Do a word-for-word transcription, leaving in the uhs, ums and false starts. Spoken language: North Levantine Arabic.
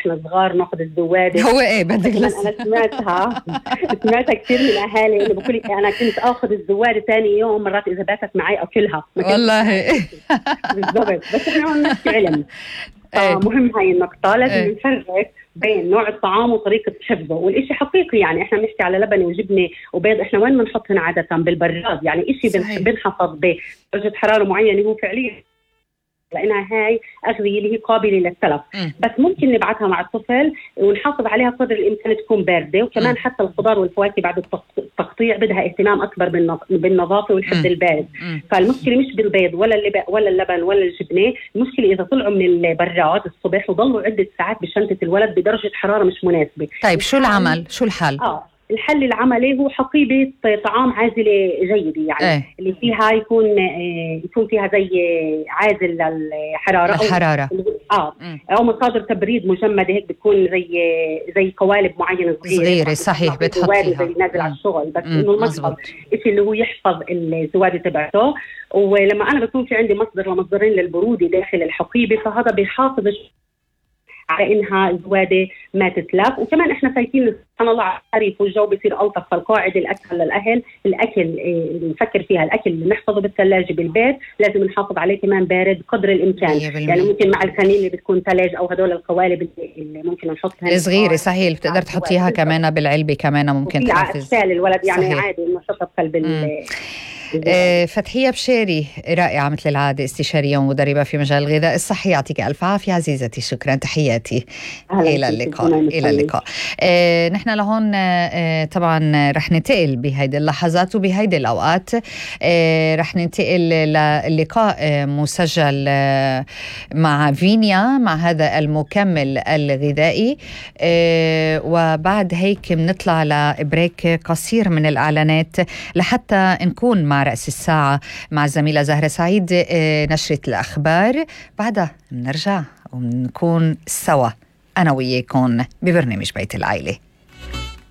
واحنا صغار ناخذ الزوادة. هو ايه بدك انا سمعتها سمعتها كثير من الاهالي انه بقول لك انا كنت اخذ الزوادة ثاني يوم، مرات اذا باتت معي اكلها والله. بالضبط. بس احنا عم نحكي علم. مهم هاي النقطة، لازم ايه. نفرق بين نوع الطعام وطريقة حفظه، والإشي حقيقي يعني إحنا بنحكي على لبن وجبنة وبيض، إحنا وين بنحطهن عادة؟ بالبراد، يعني إشي بنحفظ بدرجة حرارة معينة هو فعليا لأنها هاي أغذية اللي هي قابلة للتلف. بس ممكن نبعتها مع الطفل ونحافظ عليها قدر الإمكان تكون باردة. وكمان م. حتى الخضار والفواكه بعد التقطيع بدها اهتمام أكبر بالنظافة والحفظ البارد. م. فالمشكلة مش بالبيض ولا اللبن ولا اللبن ولا الجبنة، المشكلة إذا طلعوا من البراد الصبح وضلوا عدة ساعات بشنطة الولد بدرجة حرارة مش مناسبة. طيب شو العمل؟ شو الحل؟ آه. الحل العملي هو حقيبة طعام عازلة جيدة، يعني ايه؟ اللي فيها يكون يكون فيها زي عازل للحرارة الحرارة أو, آه أو مصادر تبريد مجمدة، هيك بتكون زي زي قوالب معينة صغيرة صغيرة صحيح بتحط فيها زي نازل على الشغل، بس إنه المصدر إيش اللي هو يحفظ الزوادة تبعته. ولما أنا بكون في عندي مصدر ومصدرين للبرودة داخل الحقيبة، فهذا بيحافظ على إنها الزوادة ما تتلف. وكمان إحنا فايتين سبحان الله على الخريف والجو بيصير ألطف، فالقاعدة الأكل للأهل الأكل اللي نفكر فيها الأكل اللي نحفظه بالثلاجة بالبيت لازم نحافظ عليه كمان بارد قدر الإمكان. يعني ممكن مع الكنين اللي بتكون ثلج أو هدول القوالب اللي ممكن نحطها الصغيرة صحيح بتقدر تحطيها كمان بالعلبة كمان ممكن تحافظ الولد يعني صحيح. عادي إنه حطها بقلب آه فتحية بشاري رائعة مثل العادة، استشارية ومدربة في مجال الغذاء الصحي. يعطيك ألف عافية عزيزتي، شكرا، تحياتي، إلى اللقاء. إلى اللقاء. آه نحن لهون آه طبعا رح ننتقل بهيدي اللحظات وبهيدي الأوقات آه رح ننتقل للقاء آه مسجل آه مع فينيا مع هذا المكمل الغذائي، آه وبعد هيك بنطلع لبريك قصير من الإعلانات لحتى نكون مع رأس الساعة مع الزميلة زهرة سعيد نشرة الأخبار. بعدها بنرجع ونكون سوا أنا وياكم ببرنامج بيت العائلة.